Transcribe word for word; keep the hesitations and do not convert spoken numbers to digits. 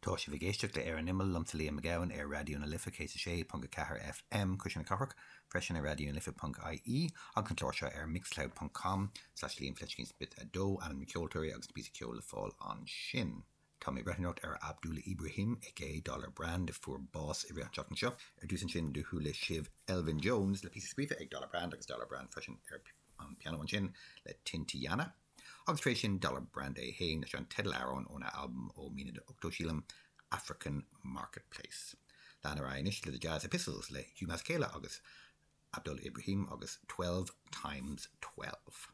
Tá sibh ag éisteacht le Ar an Imeall liomsa Liam Mac Gabhann ar Raidió na Life céad a sé ponc a ceathair FM Cuisle na Cathrach freisin ar Raidió na Life ponc IE agus an clár seo ar mixcloud ponc com slash Liam Fleiscín Smith a dó ainm na ceoltóirí agus na píosa ceoil le fáil ansin. Tá mé ag breathnú ar Abdullah Ibrahim aka Dollar Brand a fuair bás i rith an tseachtain seo. Ar dtús ansin do chuala sibh Elvin Jones le píosa scríofa ag Dollar Brand agus Dollar Brand freisin ar an piano ansin le Tintiana. Agus tar éis sin Dollar Brand é féin leis an teideal-amhrán óna albam ó mí na ochtó sílim African Marketplace. Lean ar anois le The Jazz Epistles le Hugh Masekela agus Abdullah Ibrahim agus Twelve Times Twelve.